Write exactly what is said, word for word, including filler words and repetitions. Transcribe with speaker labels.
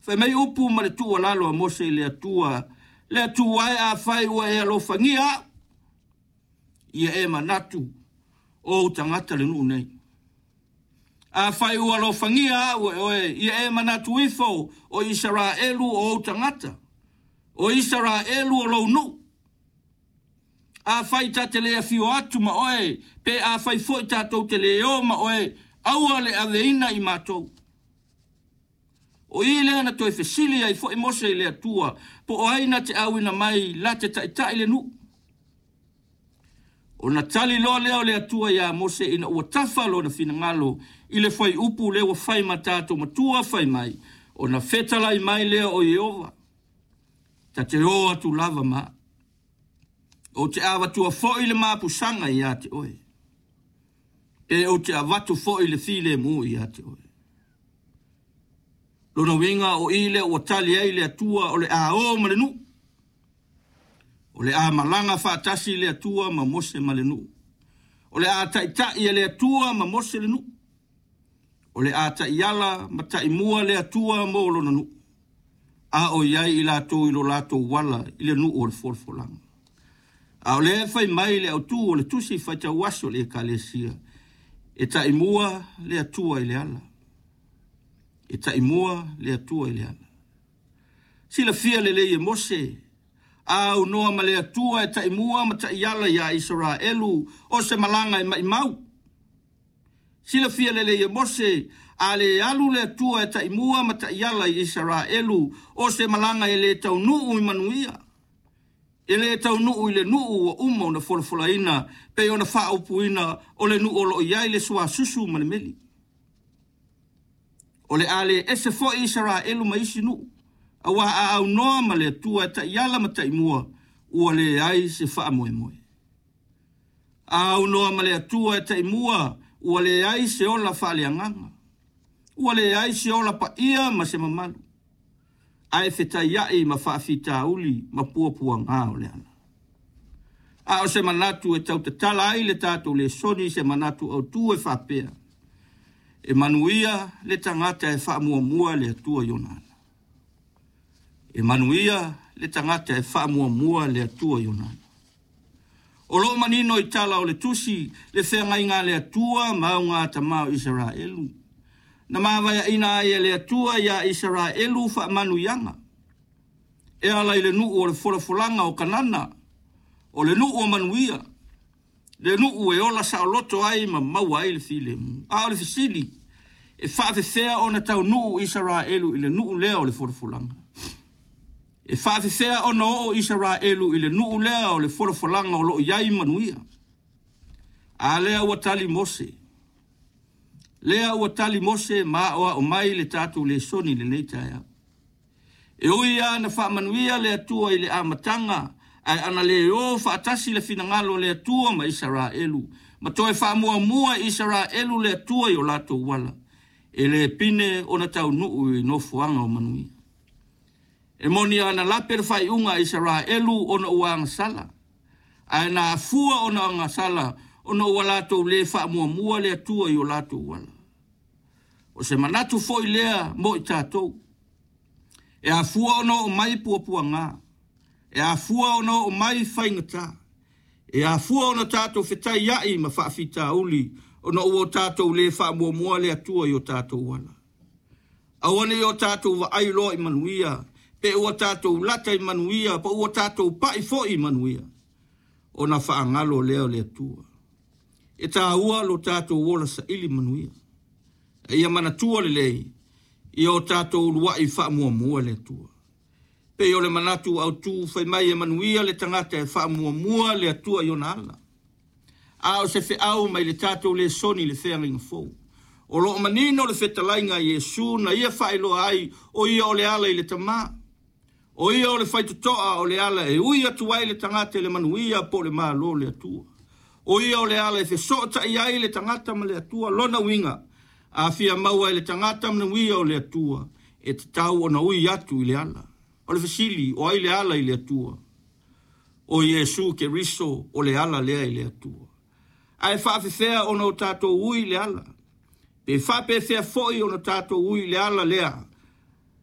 Speaker 1: Fai mai upu ma le tuualalo a Mose i le Atua, le Atua e afai ua e alofagia au, ia e manatu o ou tagata le nuu nei. Afai ua alofagia au e oe, ia e manatu ifo o Isaraelu o ou tagata, o Isaraelu o lou nuu. Afai ta te le afio atu ma oe, pe afai foi tatou te le o ma oe, aua le aveina i matou. O i lea na toe fesili ai foi Mose i le Atua, po o ai na te auina mai la te taitai le nuu. Ona tali loa lea o le Atua ia Mose ina ua tafa lona finagalo i le fuaiupu lea ua fai ma tatou matua fai mai, ona fetalai mai lea o Ieova, ta te o atu lava ma ou te avatua foi le mapusaga ia te oe, pe ou te avatu foi le filemu ia te oe. Lona uiga o i lea ua tali ai le Atua o le a o ma le nuu. O le a malaga faatasi le Atua ma Mose ma le nuu. O le a taitai e le Atua ma Mose le nuu. O le a taiala ma taimua le Atua mo lona nuu. A o iai i latou i lo latou ala i le nuu o le folafolaga. A o lea fai mai le autu o le tusi faitau aso o le Ekalesia, e taimua le Atua i le ala. E taimua le Atua i le ala. Silafia lelei e Mose, a aunoa ma le Atua e taimua ma taiala ia Isaraelu o se malaga e maimau. Silafia lelei e Mose, a le alu le Atua e taimua ma taiala i Isaraelu o se malaga e le taunuu i manuia. E le taunuu i le nuu ua uma ona folafolaina pe ona faaupuina o le nuu o loo i ai le suasusu ma le meli. O le a le ese foi Isaraelu ma isi nuu, aua a aunoa ma le Atua e taiala ma taimua, ua leai se faamoemoe. A aunoa ma le Atua e taimua, ua leai se ola faaleagaga, ua leai se ola paia ma se mamalu, ae fetaiai ma faafitauli ma puapuaga o le ala. A o se manatu e tautatala ai le tatou lesoni, se manatu autu e faapea, e manuia le tagata e faamuamua le Atua i ona ala. E manuia le tagata e faamuamua le Atua i ona ala. O loo manino i tala o le tusi le feagaiga a le Atua ma augatama o Isaraelu. Na mavaeaina ai e le Atua ia Isaraelu faamanuiaga. E ala i le nuu o le folafolaga o Kanana, o le nuu o manuia, le nuu e ola saoloto ai ma maua ai le filemu. A o le fesili, e faafefea ona taunuu Isaraelu i le nuu lea o le folafolaga? E faafefea ona oo Isaraelu i le nuu lea o le folafolaga o loo i ai manuia? A lea ua tali Mose. Lea ua tali Mose ma aoao mai le tatou lesoni i lenei taeao. E ui lava na faamanuia le Atua i le amataga, ae ana le o faatasi le finagalo o le Atua ma Isaraelu, ma toe faamuamua i Isaraelu le Atua i o latou ala, e le pine ona taunuu i nofoaga o manuia. E moni ana lape le faaiuga a Isaraelu ona ua agasala, ae na afua ona agasala ona ua latou le faamuamua le Atua i o latou ala. O se manatu foi lea mo i tatou. E afua ona oo mai puapuaga, e afua ona oo mai faigata, e afua ona tatou fetaiai ma faafitauli ona ua o tatou le faamuamua le Atua i o tatou ala. Aua ne i o tatou vaai loa i manuia, pe ua tatou lata i manuia, pe ua tatou pai foi i manuia, ona faagalo lea o le Atua. E taua lo tatou ola saili manuia. E ia manatua lelei, ia o tatou uluai faamuamua le Atua. Pe o le manatu autu fai mai e manuia le tagata e faamuamua le Atua i ona ala. A o se feau mai le tatou lesoni le feagaiga fou. O loo manino le fetalaiga a Iesu na ia faailoa ai o ia o le ala i le Tama. O ia o le faitotoa o le ala e ui atu ai le tagata i le manuia po o le malo o le Atua. O ia o le ala e fesootai ai le tagata ma le Atua lona uiga. A fia maua i le tagata manuia o le Atua, e tatau ona ui atu i le ala. O le fesili, o ai le ala i le Atua? O Iesu Keriso o le ala lea i le Atua. Ae faafefea ona o tatou ui i le ala. Pe faapefea foi ona tatou ui i le ala lea